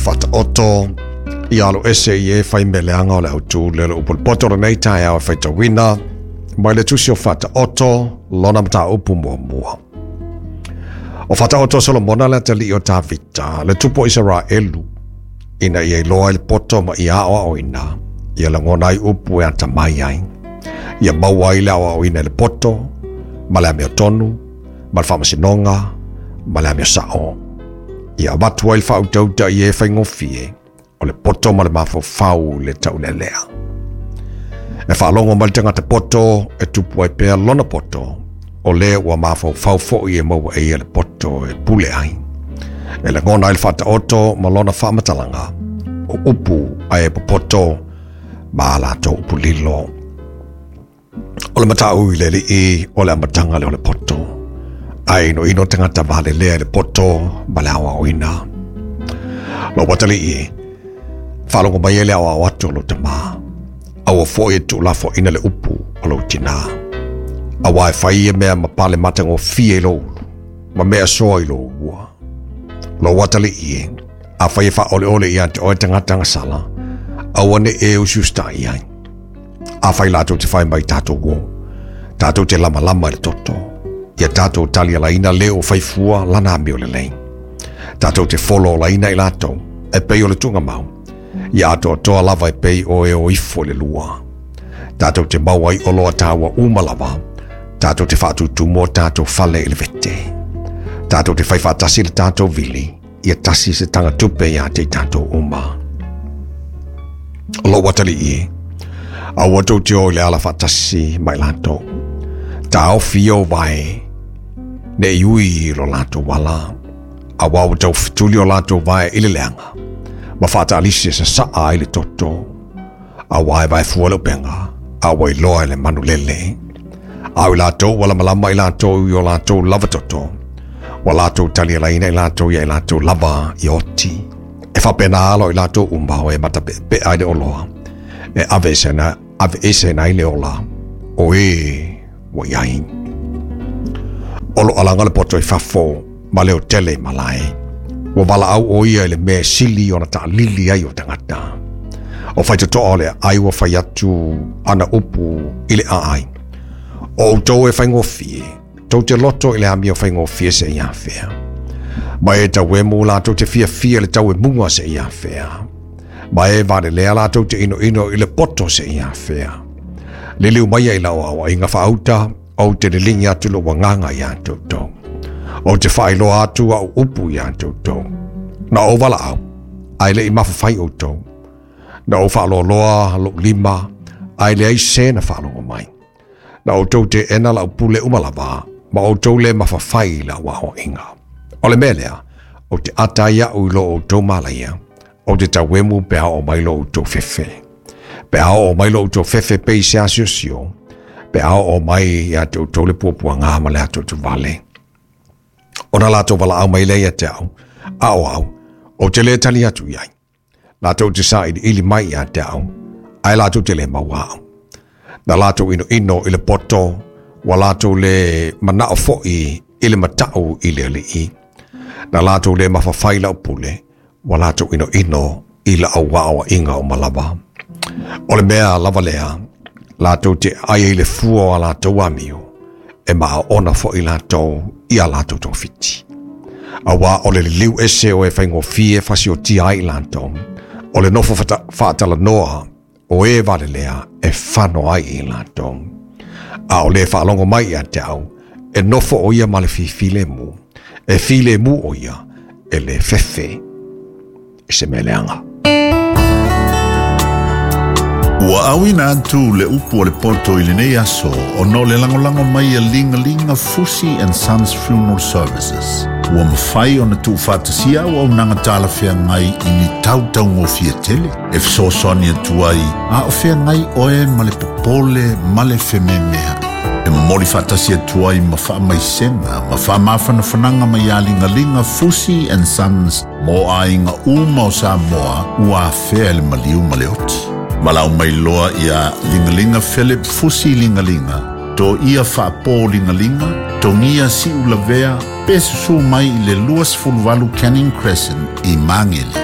Faataoto, ia alo ese i e fai meleaga o le autu le le upu le poto lenei taeao e faitauina mai le tusi o Faataoto lona mataupu muamua. O Faataoto Solomona le atalii o Tavita, le tupu o Isaraelu, ina ia iloa i le poto ma ia aoaoina, ia lagona ai upu e atamai ai. Ia maua ai le aoaoina i le poto, ma le amiotonu, ma le faamasinoga, ma le amio sao. Ia avatu ai le faautauta i e faigofie, o le poto ma le mafaufau i le taulelea. E faalogo mai le tagata poto e tupu ai pea lona poto, o le ua mafaufau foi e maua e ia le poto e pule ai. E lagona ai le faataoto ma lona faamatalaga, o upu ae popoto ma a latou upu lilo. O le matau i le alii o le amataga lea o le poto, ae inoino tagata valelea i le poto ma le aoaoina. Lou atalii, faalogo mai e le aoao atu o lou tamā, aua foi e tuulafoaina le upu o lou tinā. Aua e fai ia mea ma pale matagofie i lou ulu, ma mea soa i lou ua. Lou atalii e, afai e faaoleole ia te oe tagata agasala, aua ne i e usiusitai ai. Afai latou te fai mai tatou o, tatou te lamalama i le toto, ia tatou talialaina le o faifua lana amio lelei. Tatou te folo olaina i latou, e pei o le tuugamau, ia atoatoa lava e pei o e o ifo i le lua. Tatou te maua ai oloa taua uma lava, tatou te faatutumu o tatou fale i le vete. Tatou te fai faatasi le tatou vili, ia tasi se tagatupe ia te i tatou uma. O lou atalii e, aua tou te o i le ala faatasi ma i latou. Taofi ou vae, ne i ui i lo latou ala, aua ua tau fetuli o latou vae i le leaga, ma faataalisi e sasaa ai le toto, aua e vaefua le upega, a ua iloa e le manulele. A o i latou ua lamalama i latou i o latou lava toto, ua latou talialaina i latou ia i latou lava i oti. E faapena alo i latou uma o e matapeapea ai le oloa, e aveeseina ai le ola o e ua i ai. O lo alaga le poto i fafo ma le otele i malae. Ua valaau o ia i le mea e sili ona taalili ai o tagata. O faitotoa o le aai ua fai atu ana upu i le aai. O outou e faigofie, tou te loto i le amio faigofie seia afea. Ma e tauemu latou te fiafia le tauemuga seia afea. Ma e valelea latou te inoino i le poto seia afea. Liliu maia i lau aoaiga faauta, ou te liligi atu lou agaga iā toutou. Ou te faailoa atu au upu iā toutou. Na ou valaau, ae le i mafafai outou. Na ou faaloaloa lou lima, ae leai se na faalogo mai. Na outou teena lau pule uma lava, ma outou le mafafai i lau aoaiga. O le mea lea, ou te ata ai au i lo outou malaia, ou te tauemu pe a oo mai lo outou fefe. Pe a oo mai lo outou fefe pei se asiosio, pe a oo mai ia te outou le puapuaga ma le atuatuvale. Ona latou valaau mai lea ia te au, a o au, ou te le tali atu i ai. Latou te sailiili mai ia te au, ae latou te le maua au. Na latou inoino i le poto, ua latou le manao foi i le matau i le alii. Na latou le mafafai i lau pule, ua latou inoino i lau aoaiga uma lava. O le mea lava lea, latou te ai ai le fua o a latou amio, e maaona foi latou i a latou togafiti. Aua o le liliu ese o e faigofie fasiotia ai i latou, o le nofo faatalanoa o e valelea e fano ai i latou. A o le faalogo mai ia te au, e nofo o ia ma le fifilemu, e filemu o ia, e le fefe i se mea leaga. Ua auina atu le upu o le poto i lenei aso ona o le lagolago mai a Ligalinga Fusi and Sons Funeral Services. Ua mafai ona tuufaatasia auaunaga talafeagai i ni tautaugofie tele e fesoasoani atu ai a o feagai oe ma le popole ma le fememeai. E momoli faatasi atu ai ma faamaisega ma faamafanafanaga mai ia Ligalinga Fusi and Sons mo aiga uma o Samoa ua afea e le maliu ma le oti. Valaau mai loa iā Ligalinga Philip Fusi Ligalinga, Toia Faapo Ligalinga, Togia Siulavea, pe susū mai i le 28 Canning Crescent i Magele.